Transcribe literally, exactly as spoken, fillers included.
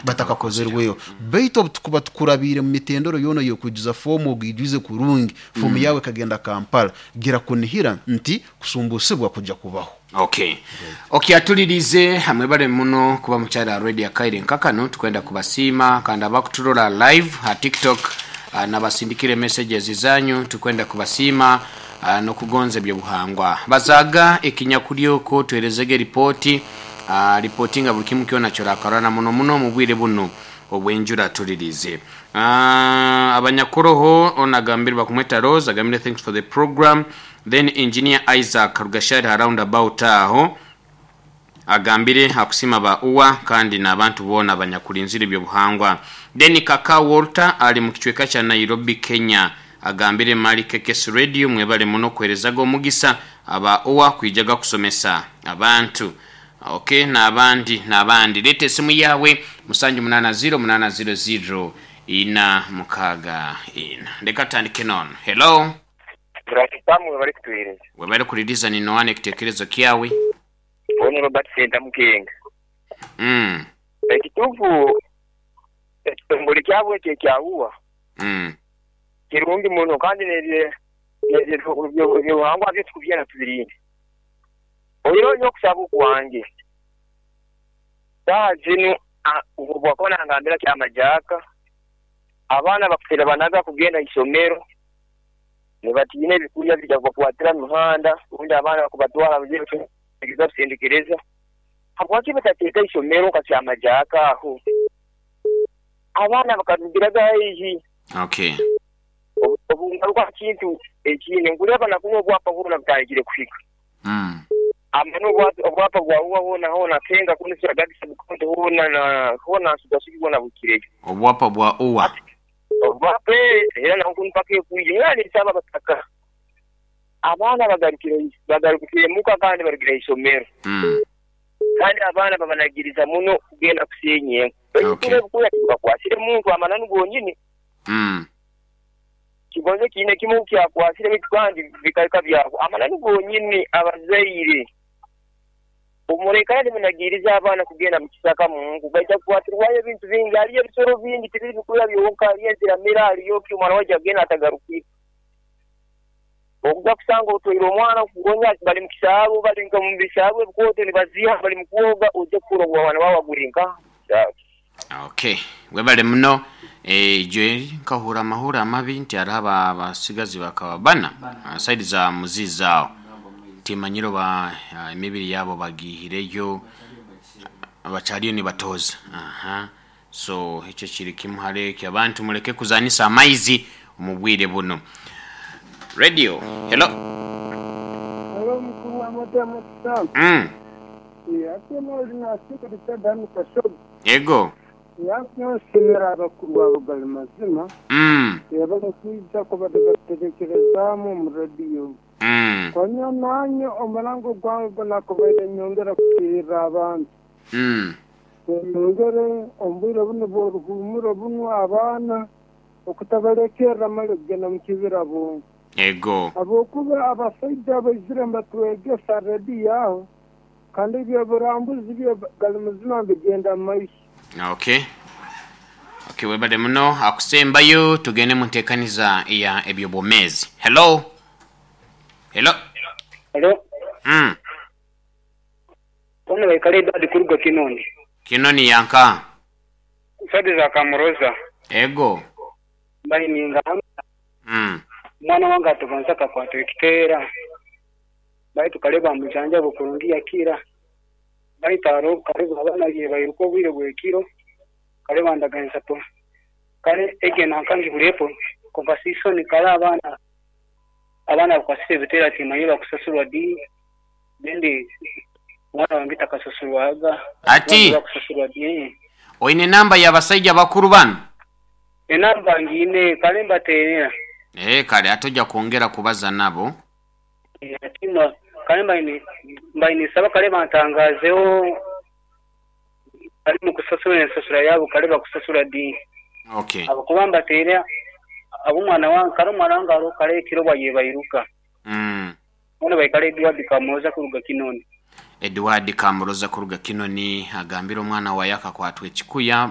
Batakakozerweyo, baitu obu tukuba tukurabiire mu mitendero yoona y'okwijuza foomu, ogiijwize kurungi, foomu yawe ekagenda Kampala, gira kunihira nti kusumbusibwa kujja kubaho. okay okay atulirize hamwe bale muno kuba mukyala radio akaire nkakano. Tukwenda kubasiima kandi abakuturora live ha TikTok, uh, nabasindikire messages zanyu, tukwenda kubasiima uh, nokugonza ebyobuhangwa bazaga ekinyakuryoko. Tuherezege ripoti, uh, ripoti nga buli kimu kyona kyorakarana muno muno mu bwire buno obwenjura. Tulirize uh, abanyakoroho onagambire bakumweta Rose, agambire, "Thanks for the program." Then Engineer Isaac Rugashari ha roundabout aho agambire akusima ba uwa kandi n'abantu boona abanyakulinzira ebyobuhangwa. Then Kaka Walter ali mu kicweka kya Nairobi, Kenya, agambire, "Mali K K S Radio, mwebale muno kuherezaga omugisa aba uwa kwijaga kusomesa abantu." Okay, n'abandi n'abandi, leeta esimu yawe musanju munana zero munana zero zero ina mukaaga ina. Leka tutandike nono. Hello. Turasipamu, bari kutuhereza. Webale kuliriza, ninoana ekitekerezo kyawe. Ono Robert Senta Mukenga. mm. Ekituufu, ekitongole kyabwe ekyo ekyawuwa Mm. kirungi muno, kandi ebyobuhangwa byo tukubyena tubirinde. Oyo okusaba okwange saaha zinu, bwakuba nangambira kyamajaka, abaana bakutera banaga kugenda isomero nibatiina ebikulya bija kubakwatira mu mihanda, ubundi abaana bakubatwara geza kusendekereza. Habwaki batateeka isomero nka kyamajaka aho abaana bakarugiraga haihi? Okay obungaruka kintu ekindi, nkuleba nakunywa obwapa bwona butandikire kuhika. mm. Amano obwapa bwawuwa hona hona kenga kunisura gadisa bukonto hona na hona sugasugi bwona bukireyo. Obwapa bwa uwa. Obwapa era nakunpaka ekuije era nisaba bataka abaana bagarukire bagarukire muka kandi barugire isomero. mm. Kandi abaana babanagiriza muno kugenda kusenya enku. Okay. Ebikuya tibakwasire muntu amananu gonyini. Mm. Kigonze kiine kimu kyakwasire bitu kandi bikareka byako amananu gonyini. Abazaire omulekana nimunagiriza abaana kugenda mu kisaka mungu, baija kukwatirwayo ebintu bingi. Haliyo ebisoro bingi, tibiri bikuya byonka, haliyo enziramira, haliyo ki, omwana wajja kugenda atagarukire, okuja kusanga otwaire omwana kugonya bali mu kisaabu, bali nka mu bisaabu ebikooto nibaziha, bali mu kwoga, ojja kukura omwana wawe aguri nka. Okay, webale muno. eh, jwe nkahura amahura amabi nti hariho aba- abasigazi bakaba bana ah, side za muzizi aho, timanyiro ba ah, emibiri yabo bagihireyo, bakyaliyo nibatoza. Aha, so ekyo kiri kimu hareki abantu muleke kuzanisa amaizi omu bwire buno. Radio, hello. Hello, mukuru wa Madamu Sam. mm. Ate noli nasikurisa dani kashobo. Ego. Yakunyosemera abakuru babo gali mazima. mm. Yabala kwija kubada baterekerezaamu mu radiyo. Mm. Konya nanye omulango gwange gunakubaire nyongera kukiirira abantu. Mm. Nyongere omu bwire buno bw'oruhumuro bunu, abaana okutabalekerra mali kugenda mu kibira bonka. Ego. Habwokuba abasaija abaizire mbatwegesa rediyo aho, kandi ebyoburambuzi byo gali muzima bigenda mu maiso. okay okay webale muno. Akusembayo tugende mu nteekaniza ya ebyobwomeezi. Hello, hello. Hello. mm. Bona baikale Edward kuruga Kinoni. Kinoni yanka? Sade za Kamuroza. Ego. Bayininga mm. omwana wange atugonza kakwatwa ekiteera. Baitu kale bamujanja bukurungi yakira. Baitu aro kale abaana bye bairuka obwire bwekiro. Kale bandaganisa po. Kale ege nankangi bulepo. Konka sisoni kale abaana abaana bakwasire ebiteera timanyi bakusasurwa di. Bendi omwana wange takasasurwaga. Ati? Bakusasurwa di. Oine namba y'abasajja bakuru bano? Enamba ngiine, kale mbateerera. Eh, kale ate ojja kwongera kubaza nabo. Ati no kale mbaine mbaine saba kale bantangazeho kale mu kusasula ensasula yabo, kale bakusasula di. Okay abakuba mbateera ab'omwana wange, kale omwana wange aro kale ekiro bwaye bairuka. mm. Bona baikale Edward Kamuroza kuruga Kinoni. Edward Kamuroza kuruga Kinoni agambira omwana waye akakwatwa ekikuya.